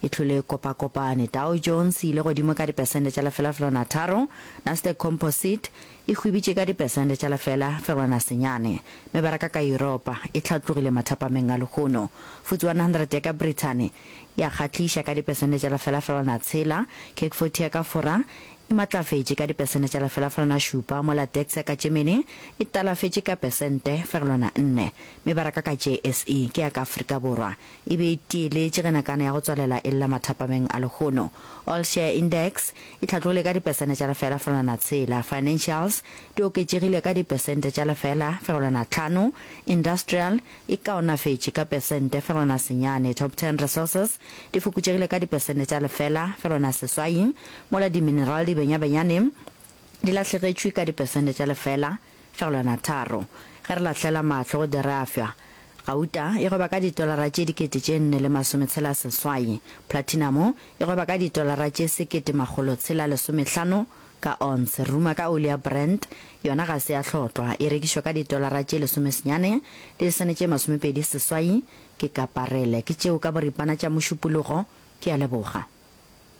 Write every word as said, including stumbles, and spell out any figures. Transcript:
e hlole e kopakopane. Dow Jones e ile godimo ka dipesente tša lefela fegelwana tharo, Nasdaq Composite e hwibitše ka dipesente tša lefela fegelwana senyane. Mebaraka ka Yuropa e hlatlogile mathapameng a lehono. F T S E one hundred ya ka Brithani ya kgahliša ka dipesente tša lefela fegelwana tshela, CAC forty ya ka Fora e matlafetše ka dipesente tša lefela fegelwana šupa, mola DAX ya ka Germany e talafetše ka pesente fegelwana nne. Mebaraka ka J S E ke ya ka Afrika Borwa e be e tieletše ge nakana ya go tswalela e lla mathapameng a lehono. All Share Index e hlatlogile ka dipesente tša lefela fegelwana tshela, financials di oketšegile ka dipesente tša lefela fegelwana tlhano, industrial e kaonafetše ka pesente fegelwana senyane, top ten resources di fokotšegile ka dipesente tša lefela fegelwana seswai, mola di-mineral di benyabenyane di lahlegetšwe ka dipesente tša lefela fegelwana tharo. Ge re lahlela mahlo go dirafša, gauta e gweba ka ditolara tše dikete tše nne le masometshela seswai, platinum e gweba ka ditolara tše sekete makgolo tshela lesomehlano ka ounce. Ruma ka oli ya Brent, yona ga se ya hlotlwa, e rekišwa ka ditolara tše lesomesenyane le disene tše masomepedi seswai ke ka parele. Ke tšeo ka boripana tša Mošupologo, ke a leboga.